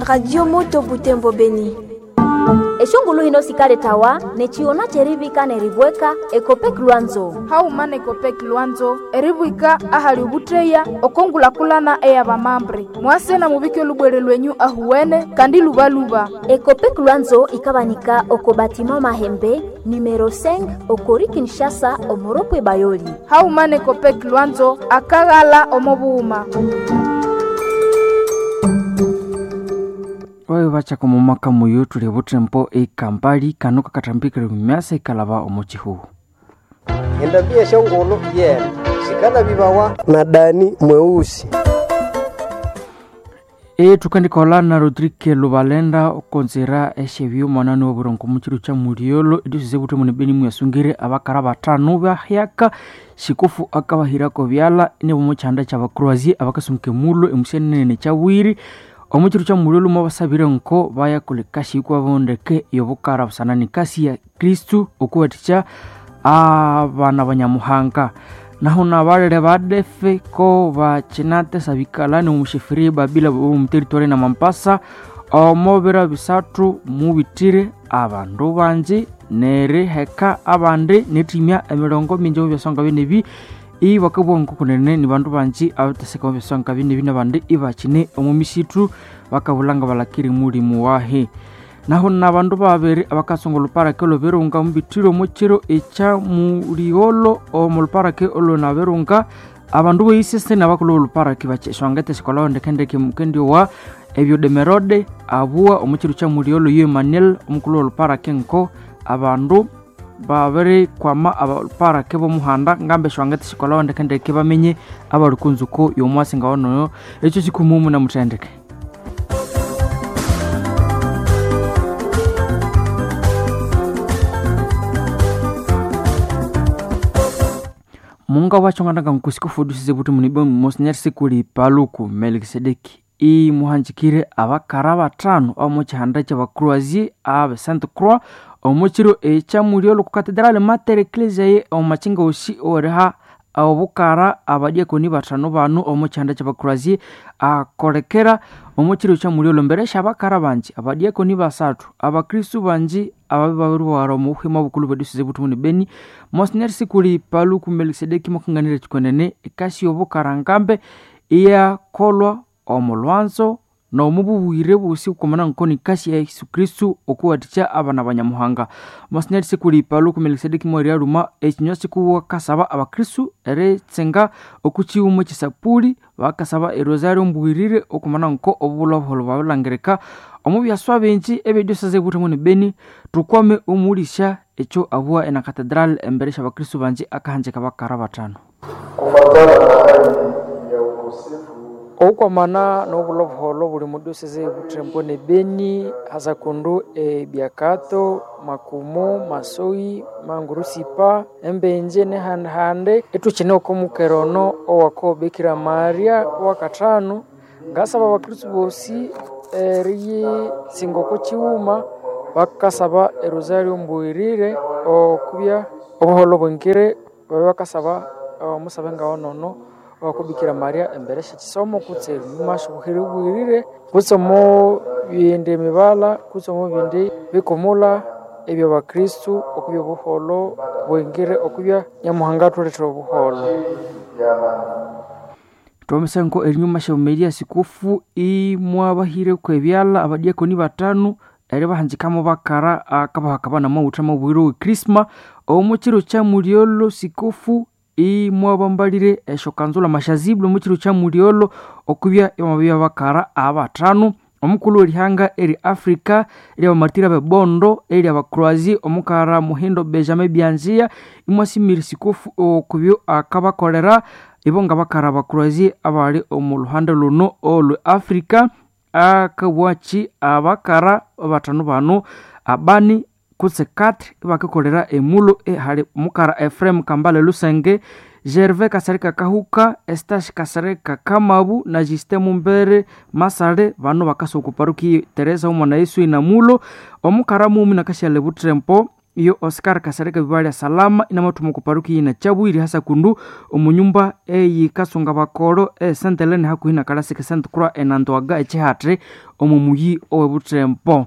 Radio Moto Butembo Beni. Eshongulu hino sikaletawa nechiona cherivika neribweka Ekopek Lwanzo. Hauma nekopek Lwanzo eribwika ahali ubutreya okongulakulana eyabamambre mwase na mubike olubwere lwenyu ahuwene kandi lubaluba. Ekopek Lwanzo ikabanika oko batima Mahembe numero 5 okori Kinshasa omoropwe Bayoli. Hauma nekopek Lwanzo akaghala omobuhuma. Oyo bachaka omumaka muyo tuli buthembo ekampali kano kakathambikire myasa ikalaba omo chihuhu. Endambia eshongolo yena sikalabibawa na Dani mweusi. Tukandikola na Rodrigue Lubalenda okonzera esyebyuma mwanani woburongo muchiru cha muliolo ediosi buthembo nebeni muyasungire abakara batano bahyaka sikofu akabahirako byala nebomuchanda kyabakroasie abakasunguka emulo emusenene kyabwiri omuchiru cha muliolo mwabasabire nko bayakola ekasi yikwabondeke yobukara busana nekasi ya Kristu okuwathikya abana banyamuhanga. Naho nabalere badefe ko bakinatesa bikalani omusheferi babila omu territory na Mampasa omobira bisathu mubitire abandu bangi neriheka abandi nethimya emirongo mingi omu byasonga binebi ibakabugha nkokunene ni bandu bangi abateseka omu byasonga binebi nabandi ibakine omu misithu bakabulha balakiri mulimu wahi. Naho nabandu babiri abakasonga oluparake olwebirunga mubithire omukiro ekya muligholo omu luparake olwonabirunga abandu boyisese nabakulhu b'oluparake bakyeswangete esikolhawo ndekendeke mukendiowa ebyodemerode abuwa omukiro kya muligholo yo Emmanuel omukulhu w'oluparake nko abandu babirikwama abaluparake b'omuhanda ngamba eswangete esikolhawo ndekendeke bamenye abali kunzuko y'omwasi ngawanoyo ekyo kikumumu namuthendeke. Munga wachonganaga nkusikufudusize buti munibe Monsignor Sikuli Paluku Melkisedeki imuhanjikire abakara batano omu kihanda ky'abakroasie abe Sainte Croix omukiro ekyamuliolo ku Cathedral Mater Ecclesiae omu makinga osi oriha obukara abadiakoni batano bano omu kihanda ky'abakroasie akolekera omukiro kyamuliolo mbere syabakara bangi abadiakoni basathu abakristu bangi ababi babiriwara omu buhima obukulu bw'ediocese buthi ni Beni. Monsignor Sikuli Paluku Melkisedeki mwakanganira kikwenene ekasi y'obukara ngambe iyakolwa omu lwanzo n'omu bubwire bwosi okwamana nko nikasi ya Yesu Kristu okuwathikya abana banyamuhanga. Monsignor Sikuli Paluku Melkisedeki mweriyalhuma ekinywa kikuwa kasaba abakristu eritsenga okukighuma ekyesapuli bakasaba erosario mbwirire okwamana nko obulha obuholho bwabilangirika omu byaswa bingi ebyediocese buthemu ni Beni. Tukwame omulisya ekyo abuwa ena cathedral embere syabakristu bangi akahanjika bakara batano. Kufatana na hali ya ukosefu Okwamana n'obulha obuholho buli mu diocese buthembo ne Beni hasakundu ebyakato Makumo, Masoi, Mangurusipa, Embenje nehandihandi ithukine oko mukera ono owako Bikira Maria owakathanu ngasaba abakristu bosi eriyitsinga oko kighuma bakasaba erosario mbuyirire okubya obuholho bwingire babye bakasaba omusabe ngawonono owako Bikira Maria embere syekisomo kutse ebimasha obuhere bwirire kutse omo bindi emibala kutse omo bindi bikumula ebyabakristu okubya obuholho bwingire okubya Nyamuhanga athulethera obuholho. Twamisango erinyuma syaumeria sikufu imwabahireko ebyalha abadiakoni batano eribahanjikamo bakara akabahaka namawutha mabwire we Krisma omukiro kya mulyolo sikufu imwabambalire esyokanzula mashazibule omukiro kya mulyolo okubya emabya bakara abatano omukulhu werihanga eri Africa eryabamatira bebondo eri abakroasie omukara Muhindo Benjamin Byanzia imwasimire sikufu okubyo akabakolera ibo ngabakara abakroasie abali omu luhande luno olwe Africa akabwaki abakara batano bano abani kutse 4 ibakakolera emulo ehali mukara Ephraim Kambale Lusenge, Gervais Kasereka Kahuka, Estash Kasereka Kamabu na Justin Mumbere Masale bano bakasa oku paroki Teresa Omwana Yesu inamulo omukara mumi nakashale Butrempo Iyo Oscar Kasereka Bibalya Salama inamathuma oko paruki yina Kyabwiri hasa kundu omu nyumba eyikasunga bakolo e Saint Helene hakuhi na Kalasika Saint Croix enandwaga ekihatri omu muyi owebuthembo.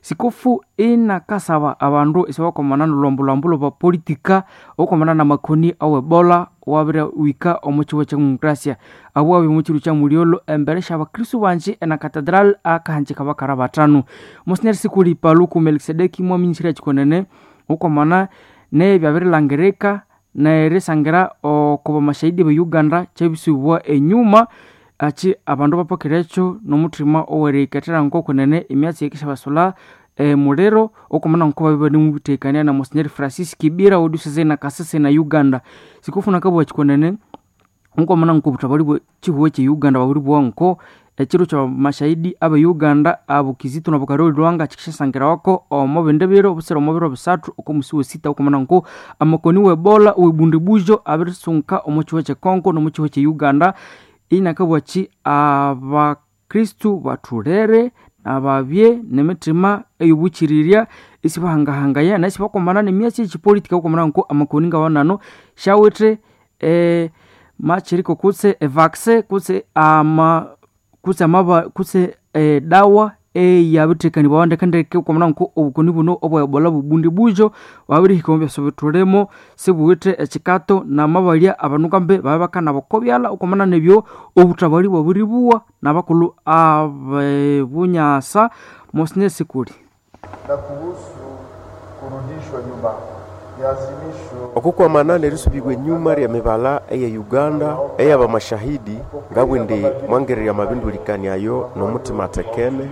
Sikofu inakasaba abandu isibakomana nolwambu-lwambu lwabapolitika okwamana namakoni awebola wabiriwika omu kihugo kya demokrasia. Abo babya omu kiro kya mulyolho embere syabakristu bangi ena Cathedral akahanjika bakara bathanu. Monsignor Sikuli Paluku Melkisedeki mwaminyisirya kyikonene okwamana nebyabirilangirika nerisangira oko bamashahidi be Uganda kyabisubwa enyuma akyi abandu bapakirekyo nomuthima oweriyikethera ngokunene emyatsi eyikisyabasulha emuliro okwamana ngoko babya ibanemuthekania na Monsignor Francis Kibira owediocese na Kasese na Uganda. Sikofuna akabugha kyikonene okwamana ngoko obuthabali bwe kyihugo kye Uganda babiribugha ngo ekiro kyabamashahidi abe Uganda abo Kizito nabo Karoli Lwanga kyikisyasangirawa omo bindi biro obusira omo biro bisathu oko musi wesita okwamana ngo amakoni webola owebundibujo abirisunka omo kyihugo kye Congo nomo kyihugo kye Uganda. Inakabugha kyi abakristu bathulere ababye nemithima eyobukyirirya isibahangahangaya na isibakomana nemyatsi eyekyipolitika okwamana ngo amakoni ngawanano syawithe makyiriko kutse evaccine kutse ama kutse amaba kutse edawa eyabirithekanibwawa ndekendeke okwamana ngo obukoni buno obwa ebola bubundibujo bwabirihika omu byasa bithulimo sibuwithe ekyikato namabalya abandu ngambi babya bakanaba oko byalha okwamana nebyo obuthabali bwabiribuwa nabakulhu abebunyasa. Monsignor Sikuli na kuhusu kurudishwa nyuma ya azimisho okukwamana nerisubibwa enyuma lya mibala eya Uganda eyabamashahidi ngabwindi mwangererya amabindulikania ayo nomuthima athekene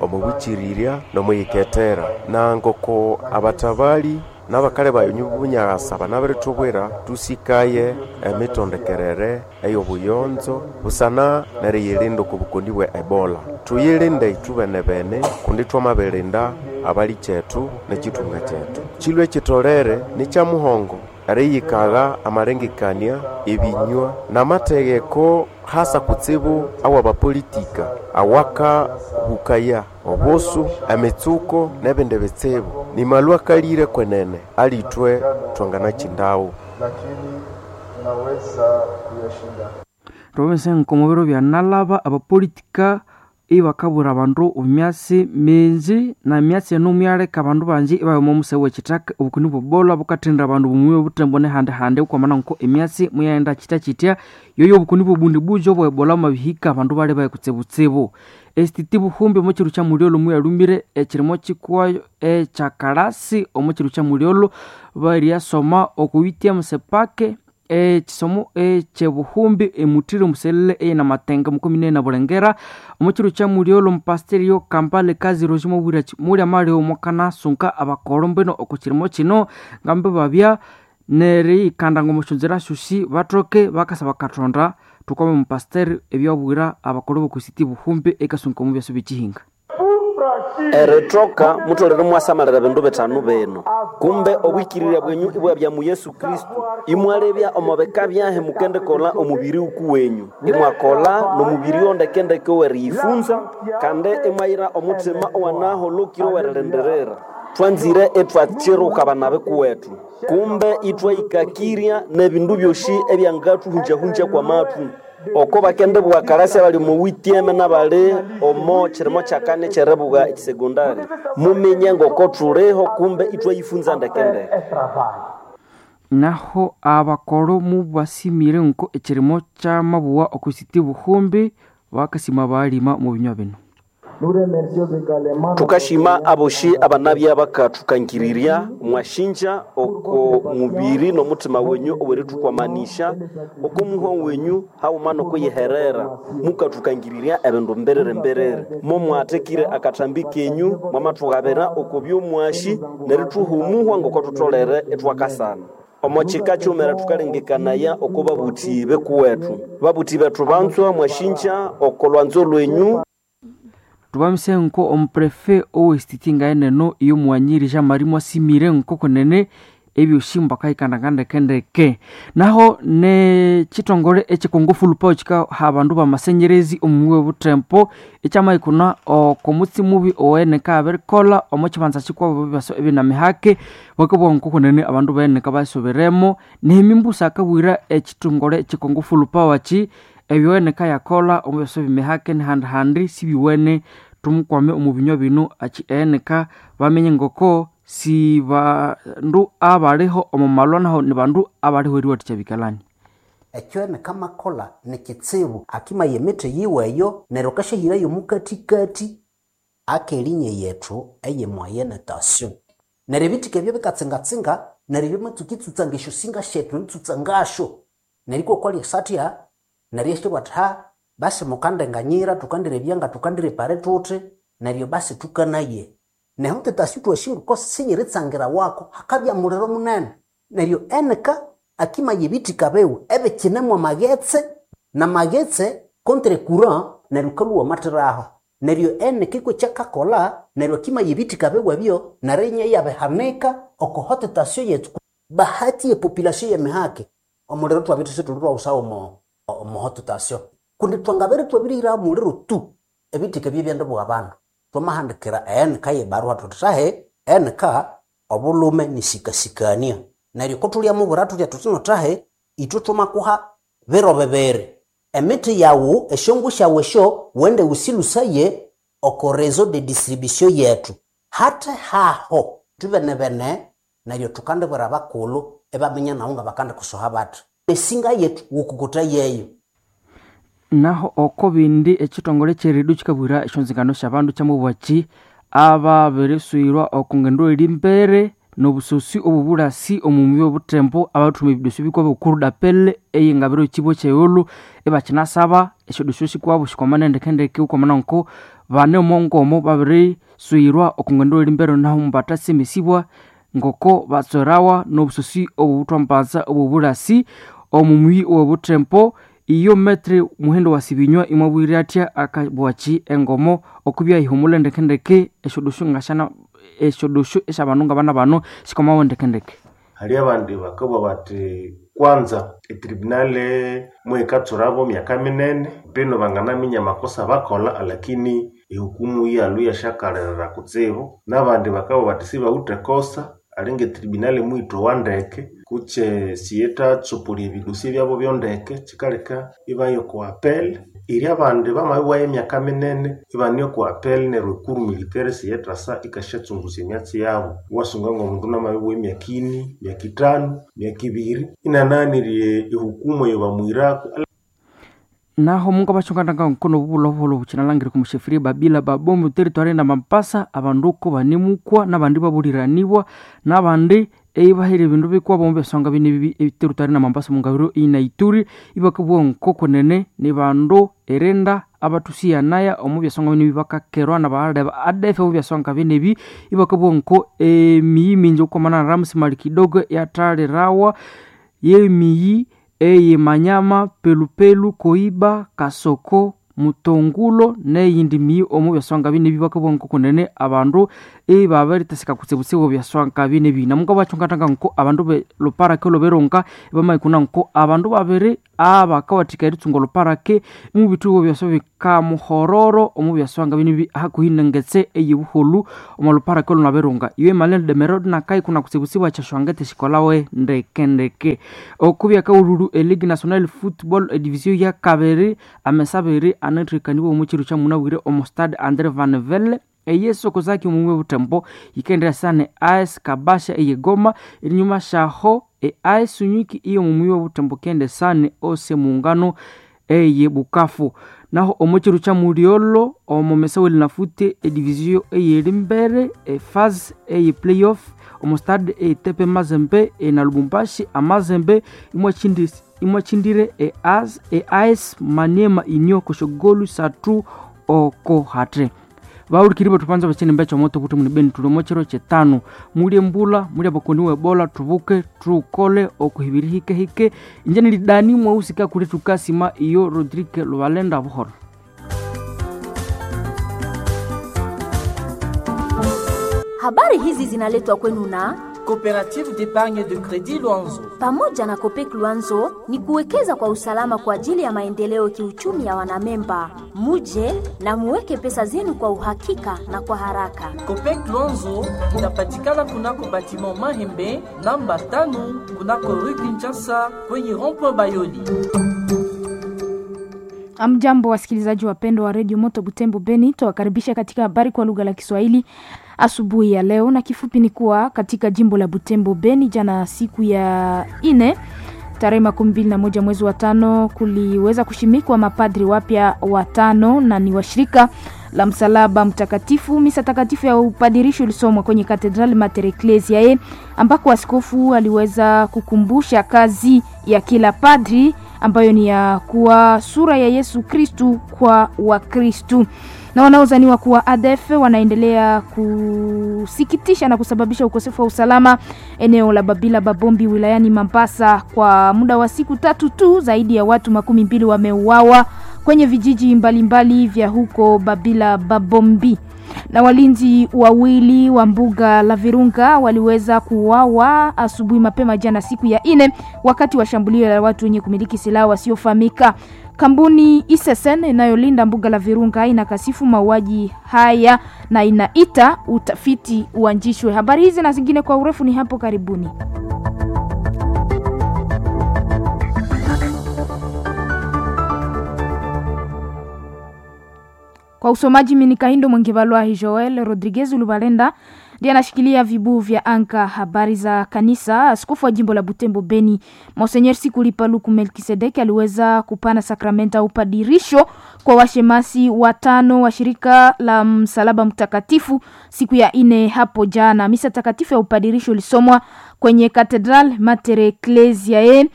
omubwikirirya nomwiyikethera na ngoko abathabali n'abakali bayo bunyasa banabirithubwira tusikaye emitondekerere ey'obuyonzo busana neriyilinda oko bukoni bwe Ebola. Tuyilinde ithubene-bene kundi thwamabirinda abali kyethu n'ekithunga kyethu. Kilwe kitolere nikyamuhongo eriyikagha amalengekania, ebinywa n'amategheko hasa kutsibu awabapolitika awakahukaya obusu, emitsuko n'ebindi bitsibu. Nimalwa akalire kwenene alithwe thwanganakyindawo. lakini tunaweza kuyashinda. Thwababisa nkomo biro byanalaba abapolitika ibakabwira abandu emyatsi mingi na emyatsi eno muyaleka abandu bangi ibabya omo museghe wekithaka. Obukoni bwebola bukathendera abandu omuyi obuthembo nehandi-handi okwamana nko emyatsi muyaghenda kyitya-kyitya. Yoyo obukoni bwobundibujo obwa ebola bwamabihika abandu balibaya kutsibutsibu. Esititi buhumbi omo kiro kya mulyolho muyalhumire ekirimo kikuwayo ekyakalasi omo kiro kya mulyolho baryasoma oko UTM sepake ekisomo ekyebuhumbi emuthiri omuselele eyinamatenga mukomine na Bulengera omo kiro kya mulyolho omupasiteri Kampala Kaziro mwabwira mulyamalyo mwakanasunka abakolo mbwino oko kirimo kino ngambi babya neriyikanda ng'omusyonzera syosi bathoke bakasaba Kathonda thukame omupasiteri ebyabwira abakolo b'okusiti buhumbi ekasunka omu byasa byekihinga. Erithoka mutholere mwasamalira bindu bithanu bino: kumbe obwikirirya bwenyu ibwabya mu Yesu Kristo, imwalebya omo bika byahi mukendikolha omubiri wukuwenyu, imwakolha n'omubiri ondekendeke oweriyifunza, kandi imwayira omuthima owanaholokire owerilindirira. Thwanzire ithwakiruka abana bikuwethu, kumbe ithwayikakirya n'ebindu byosi ebyangathuhungyahungya kwamathu. Oko bakendibugha kalasi abali omo witieme n'abali omo kirimo kyakani ekyeribugha ekisegondari, muminye ngoko thuliho kumbe ithwayifunza ndekendeke. Naho abakolo mubasimire nko ekirimo kyamabuwa okusiti buhumbi bakasima balima mu binywa bino. Thukashima aboshi abanabya bakathukangirirya mwashinja oko mubiri n'omuthima wenyu owerithukwamanisha oko muhwa wenyu haghuma n'okuyiherera mukathukangirirya ebindu mbiriri mbiriri. Momwathekire akathambi kenyu mwamathughabira oko byomwashi nerithuha omuhwa ngoko thutholere ithwakasana. Omo kika kyumira thukalengekanaya oko babuthi bekuwethu. Babuthi bethu banzwa mwashinja oko lwanzo lwenyu. Thubamise nko omuprefe owesititi ngaeneno iyo mughanyiri Jean Marie mwasimire nko kunene ebyosi mbakahikandanga ndekendeke. Naho nechitongole echikongo fulupawo chikaha abandu bamasenyerezi omuwi obutempo ekyamaikuna okomutsi mubi oweneka abirikola omo chibanza chikwabo bibaso ebinamihake bakabugha nkokunene abandu beneka basoberemo nehemimbusa akabwira ekitongole echikongo fulupawo achi ebyoweneka yakola omu byaso bimihake nihandi sibiwene tumukwame omu binywa bino achi eneka bamenye ngoko si bandu abaliho omu malwa naho ni bandu abaliho eriwathikya bikalani. Ekyo enekamakola nikitsibu akimaya emithi yiweyo neryo akashahirayo omukathikathi akelinya yethu eye moyenne tension. Neryo ebithika ebyo bikatsingatsinga neryo byamatsuka itsutsanga esyosinga syethu eritsutsa ngasyo neryo ikwakwalya esatya neryo isyabugha athi ha basi mukandenganyira thukandirebya nga thukandirepare thuthi neryo basi thukanaye. Nehu tetasi thwasi sinyiritsangira wako hakabya muliro munene neryo eneka akimaya ebithika biwe ebikinemu amaghetse namaghetse contre courant neryo kalhuwa amathiraho neryo eneka ikw'ekyakakolha neryo akimaya ebithika biwe ebyo neryo inya iyabihanika oko haute tension yethu. Bahati ye population y'emihake omuliro thwabya isithuli thwawusawo omo haute tension kundi thwangabere thwabirihiraho omuliro tu ebithika ebyo ibyendibugha abandu. Thwamahandikira eneka yebarua thuthi thahi eneka obulhume nisikasikania neryo kothulhyamubwira thuthya thuthi no thahi ithwe thwamakuha biro bibiri emithi yawu esyongu syawu esyo wende wusilusaye oko réseau de distribution yethu hathe haho thwibenebene neryo thukandibwira abakulhu ibaminya nawu ngabakandikusoha bathi esinga yethu wukukutha yeyo. Naho oko bindi ekitongole kyeridu kikabwira esyonzingano syabandu kyamubwaki ababiriswirwa oko ngendo eri mbere nobusosi obubulasi omu mubiri obutembo abathuma ebidoso bikwabo okurudapele eyengabiro kibo kyeghulhu ibakinasaba esyodoso sikwabo sikwamana ndekendeke ukwamana nko bane omongomo babiriswirwa oko ngendo eri mbere naho mubatasemesibwa ngoko batswerawa nobusosi obubuthwambanza obubulasi omu muyi owobutembo. Iyo metre muhendo wa sibinywa imwabwire atya akabwachi engomo okubya ihumula ndekendeke esyodoso ngashana esyodoso esyabandu ngabana bano sikomawo ndekendeke. Hali abandi bakabugha bathi kwanza etribunale mwikatsurabo myaka minene bino banganaminya amakosa bakolha alakini ehukumu iyalhu iyasyakalirira kutsibu. Nabandi bakabugha bathi sibawithe kosa alinga etribunale muyithowa ndeke kutse siyithatsupulya ebidosi byabo byondeke kyikaleka ibaya oko apel. Eri abandi bamabibwayo emyaka minene ibane oko apel neryo ekuru military siyithasa ikasyatsungusya emyatsi yabo. Iwasunga ngomundu namabibugha emyaka ini, myaka ithanu, myaka ibiri inanaghanirye ehukumu eyabamuhiraku. Naho mungu abachunganaga nkono bubulobuholo buchinalangire kumusheferi babila babombe territory na Mampasa abanduko banemukwa nabandi babuliranibwa nabandi eibahira ebindu bikwabo mu byasonga bine bibi territory na Mampasa mungabiro ina Ituri ibakabwa nkoko nene ni bandu erenda abatusiyanaya omu byasonga bine bibakakerwa na bahaleba ADF omu byasonga bine bi ibakabwa nko emiyi mingi okwamana na Ramsi Mali kidogo yatalirawa yemiyi eye Manyama, Pelupelu, Koiba, Kasoko, Mutongulo neyindi miyi omu byaswanga bine bibakabwa nko nene abandu ibabaritasika kutsibutsibu byaswanga bine bi namunga bachungatanga nko abandu be luparake loberonka ibamaikuna nko abandu babiri abakawathika eritsunga luparake mu bitugo byaswa bikamuhororo omu byaswanga bine bi hakuhinengetse eyibuholu omu luparake lunaberunga iwe Malene Demerod nakai kuna kutsibutsibu achashwangete shikolawe ndekendeke okubya kaululu e Ligue Nationale Football Division ya kabiri amesabiri anathikaniwa omu kiro kya munabwire omu Stade Andre Van Vele eyesu kozaki omumwe butembo yikendera sane AS Kabasha eyegoma erinyuma shaho e AS Unyiki iyo mumwe butembo kende sane ose muungano eye Bukavu. Naho omu kiro kya muliolo omu mesaweli nafute edivisio eyeri mbere efase eye playoff omu stade etepe Mazembe na Lubumbashi amazembe imwachindire e AS e AS Maniema inyo koshogolu satu oko hatre. Baulikiri batupanza bachene mbecho moto kuti munibeni tulomo chiro chetano mulye mbula mulye bakoni webola tubuke tukole okuhibiri hike hike injeni lidani mwausika kuli tukasima iyo Rodrigue Lubalenda buhoro. Habari hizi zinaletwa kwenu na Coopérative d'épargne de crédit Luanzo. Pamoja na Copec Luanzo ni kuwekeza kwa usalama kwa ajili ya maendeleo kiuchumi ya wanamemba. Muje na muweke pesa zenu kwa uhakika na kwa haraka. Copec Luanzo inapatikana kunako batiment Mahembe namba 5 kunako rue Kinshasa kwenye rond-point Bayoli. Amjambo, wasikilizaji wapendwa wa redio Moto Butembo Beni, twawakaribisha katika habari kwa lugha la Kiswahili asubuhi ya leo, na kifupi ni kuwa katika jimbo la Butembo Beni, jana siku ya ine tarehe 21 mwezi wa 5 kuliweza kushimikwa mapadri wapya watano na ni washirika la Msalaba Mtakatifu. Misa takatifu ya upadirisho ilisomwa kwenye Katedrali Mater Ecclesiae ambako askofu aliweza kukumbusha kazi ya kila padri ambayo ni ya kuwa sura ya Yesu Kristu kwa Wakristu. Na wanaozaniwa kuwa ADF wanaendelea kusikitisha na kusababisha ukosefu wa usalama eneo la Babila Babombi wilayani Mambasa. Kwa muda wa siku 3 tu, zaidi ya watu 20 wameuawa kwenye vijiji mbalimbali mbali vya huko Babila Babombi. Na walinzi wawili wa mbuga la Virunga waliweza kuuawa asubuhi mapema jana siku ya ine wakati wa shambulio la watu wenye kumiliki silaha wasiofahamika. Kampuni ISSN inayolinda mbuga la Virunga inakasifu mauaji haya na inaita utafiti uanzishwe. Habari hizi na zingine kwa urefu ni hapo karibuni. Kwa usomaji mimi ni Kahindo Mwengebalwa Joel Rodriguez Lubalenda ndiye anashikilia vibuu vya anka. Habari za kanisa. Askofu wa jimbo la Butembo Beni Monseigneur Sikuli Paluku Melkisedeki aliweza kupana sakramenta upadirisho kwa washemasi watano wa shirika la Msalaba Mtakatifu siku ya ine hapo jana. Misa takatifu ya upadirisho ilisomwa kwenye Katedral Mater Ecclesiae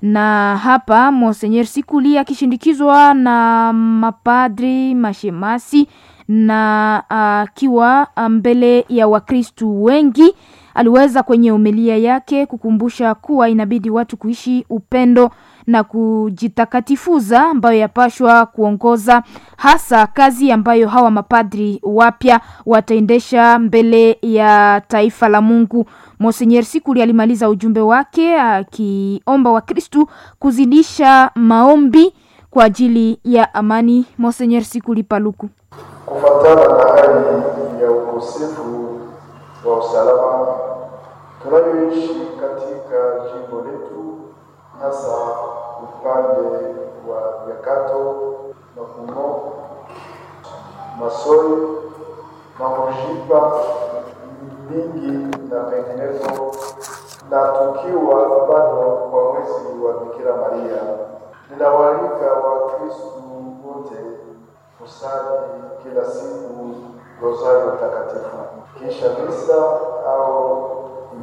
na hapa Monseigneur Sikuli akishindikizwa na mapadri mashemasi na akiwa mbele ya Wakristu wengi, aliweza kwenye homilia yake kukumbusha kuwa inabidi watu kuishi upendo na kujitakatifuza, ambayo yapashwa kuongoza hasa kazi ambayo hawa mapadri wapya wataendesha mbele ya taifa la Mungu. Monseigneur Sikuli alimaliza ujumbe wake akiomba Wakristu kuzidisha maombi kwa ajili ya amani. Monseigneur Sikuli Paluku: Kufuatana na hali ya ukosefu wa usalama tunayoishi katika jimbo letu, hasa upande wa Nyakato, Makumo, Masoi, Mamojipa, Mingi na penginepo, na tukiwa bado kwa mwezi wa Bikira Maria, ninawaalika Wakristu wote kusali kila siku rosario takatifu kisha misa au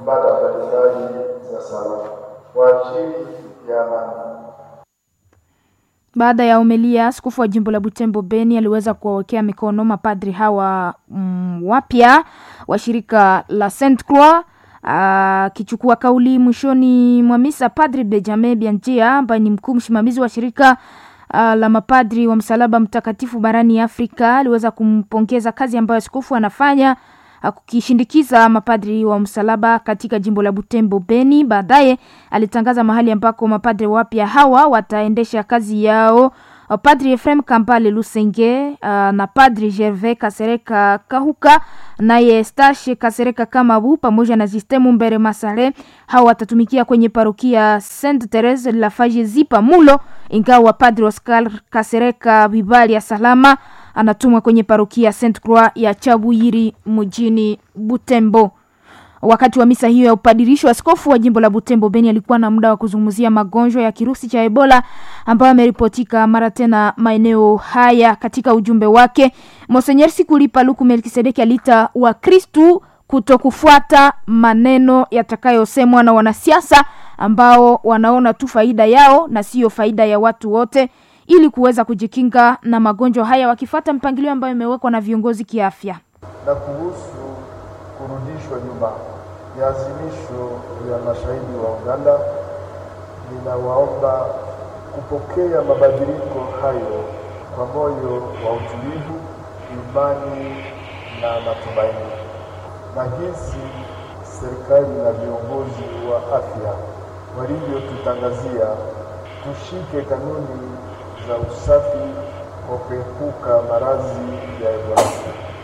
ibada mbalimbali za sala kwa ajili ya amani. Baada ya homilia, askofu wa jimbo la Butembo Beni aliweza kuwawekea mikono mapadri hawa wapya wa shirika la Saint Croix. Akichukua kauli mwishoni mwa misa, Padri Benjamin Bianjia ambaye ni mkuu msimamizi wa shirika la mapadri wa Msalaba Mtakatifu barani Afrika aliweza kumpongeza kazi ambayo askofu anafanya kukishindikiza mapadri wa msalaba katika jimbo la Butembo Beni. Baadaye alitangaza mahali ambako mapadri wapya hawa wataendesha kazi yao. Padri Efrem Kambale Lusenge na Padri Gervais Kasereka Kahuka naye Stashe Kasereka Kamabu pamoja na Sistemu Mbere Masare, hawa watatumikia kwenye parokia Sainte Therese la Fajezipa Mulo, ingawa Padri Oscar Kasereka Bibali ya Salama anatumwa kwenye parokia Sainte Croix ya Chabuyiri mjini Butembo. Wakati wa misa hiyo ya upadirisho, askofu wa jimbo la Butembo Beni alikuwa na muda wa kuzungumzia magonjwa ya kirusi cha Ebola ambayo ameripotika mara tena maeneo haya. Katika ujumbe wake, Monseigneur Sikuli Paluku Melkisedeki aliita Wakristu kutokufuata maneno yatakayosemwa na wanasiasa ambao wanaona tu faida yao na siyo faida ya watu wote, ili kuweza kujikinga na magonjwa haya wakifuata mpangilio ambayo imewekwa na viongozi kiafya. Na kuhusu kurudishwa nyuma ya azimisho ya mashahidi wa Uganda, ninawaomba kupokea mabadiliko hayo kwa moyo wa utulivu, imani na matumaini, na jinsi serikali na viongozi wa afya walivyotutangazia, tushike kanuni za usafi kwa kuepuka maradhi ya Ebola.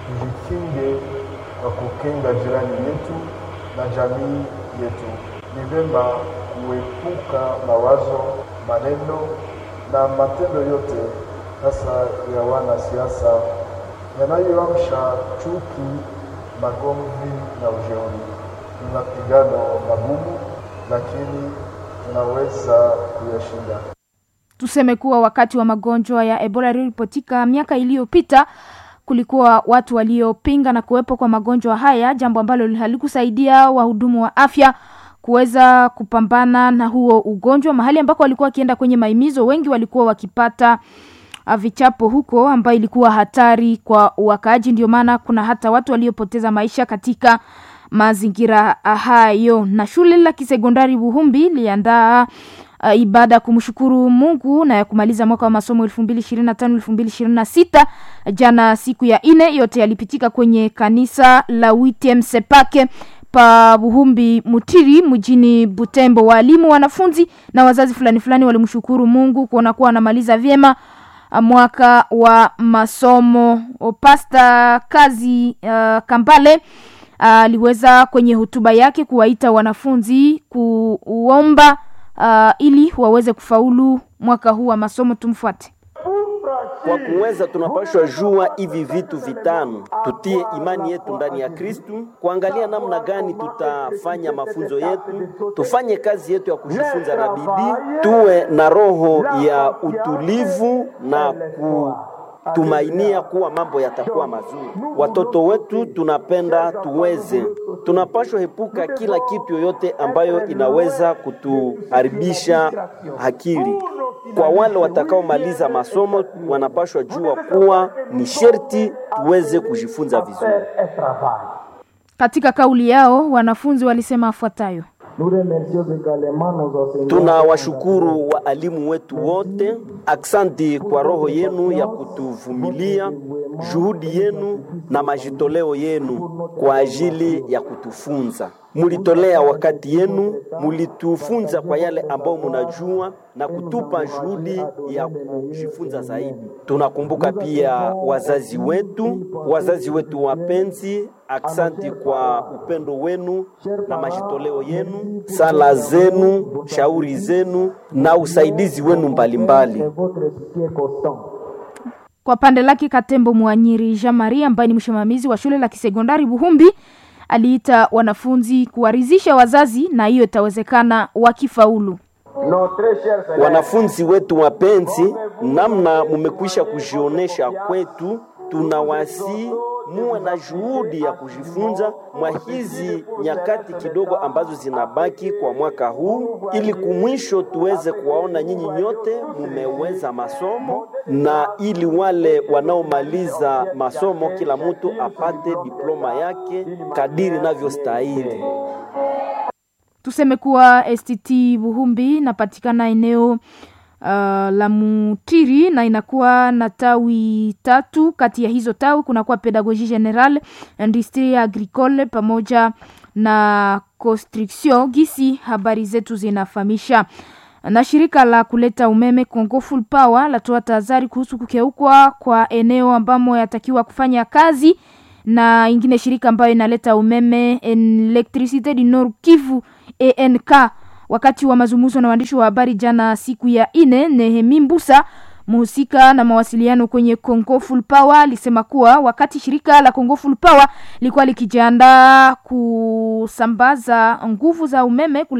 Tujikinge kwa kukinga jirani yetu na jamii yetu. Ni vema kuepuka mawazo, maneno na matendo yote hasa ya wanasiasa yanayoamsha chuki, magomvi na ujeuri. Ni mapigano magumu, lakini tunaweza kuyashinda. Tuseme kuwa wakati wa magonjwa ya Ebola yaliyoripotika miaka iliyopita kulikuwa watu waliopinga na kuwepo kwa magonjwa haya, jambo ambalo halikusaidia wahudumu wa afya kuweza kupambana na huo ugonjwa. Mahali ambako walikuwa wakienda kwenye maimizo, wengi walikuwa wakipata vichapo huko, ambayo ilikuwa hatari kwa wakaaji. Ndio maana kuna hata watu waliopoteza maisha katika mazingira hayo. Na shule la kisekondari Buhumbi liandaa ibada kumshukuru Mungu na ya kumaliza mwaka wa masomo 2025 2026 jana siku ya ine. Yote yalipitika kwenye kanisa la UTM Sepake pa Buhumbi Mutiri mjini Butembo. Walimu, wanafunzi na wazazi fulani fulani walimshukuru Mungu kuona kuwa anamaliza vyema mwaka wa masomo. Pasta Kazi Kambale aliweza kwenye hotuba yake kuwaita wanafunzi kuomba ili waweze kufaulu mwaka huu wa masomo. Tumfuate. Kwa kuweza tunapashwa jua hivi vitu vitano: tutie imani yetu ndani ya Kristu, kuangalia namna gani tutafanya mafunzo yetu, tufanye kazi yetu ya kujifunza na bidii, tuwe na roho ya utulivu na kutumainia kuwa mambo yatakuwa mazuri. Watoto wetu tunapenda tuweze, tunapashwa epuka kila kitu yoyote ambayo inaweza kutuharibisha akili. Kwa wale watakaomaliza masomo wanapashwa jua kuwa ni sherti tuweze kujifunza vizuri. Katika kauli yao wanafunzi walisema afuatayo: Tunawashukuru waalimu wetu wote, aksanti kwa roho yenu ya kutuvumilia, juhudi yenu na majitoleo yenu kwa ajili ya kutufunza. Mulitolea wakati yenu, mulitufunza kwa yale ambayo munajua na kutupa juhudi ya kujifunza zaidi. Tunakumbuka pia wazazi wetu, wazazi wetu wapenzi, aksanti kwa upendo wenu na majitoleo yenu, sala zenu, shauri zenu na usaidizi wenu mbalimbali. Kwa pande lake Katembo Mwanyiri Jean Marie ambaye ni msimamizi wa shule la kisekondari Buhumbi aliita wanafunzi kuwaridhisha wazazi na hiyo itawezekana wakifaulu. Wanafunzi wetu wapenzi, namna mumekwisha kujionesha kwetu, tunawasi muwe na juhudi ya kujifunza mwa hizi nyakati kidogo ambazo zinabaki kwa mwaka huu, ili kumwisho tuweze kuwaona nyinyi nyote mumeweza masomo, na ili wale wanaomaliza masomo kila mtu apate diploma yake kadiri inavyostahili. Tuseme kuwa STT Buhumbi inapatikana eneo la Mutiri na inakuwa na tawi tatu. Kati ya hizo tawi kunakuwa Pedagogie Generale, Industrie Agricole pamoja na Construction. Gisi habari zetu zinafahamisha. Na shirika la kuleta umeme Congo Full Power latoa tahadhari kuhusu kukeukwa kwa eneo ambamo yatakiwa kufanya kazi na ingine shirika ambayo inaleta umeme Electricité du Nord Kivu ENK. Wakati wa mazungumzo na waandishi wa habari jana siku ya ine, Nehemi Mbusa mhusika na mawasiliano kwenye Congo Full Power alisema kuwa wakati shirika la Congo Full Power lilikuwa likijiandaa kusambaza nguvu za umeme kule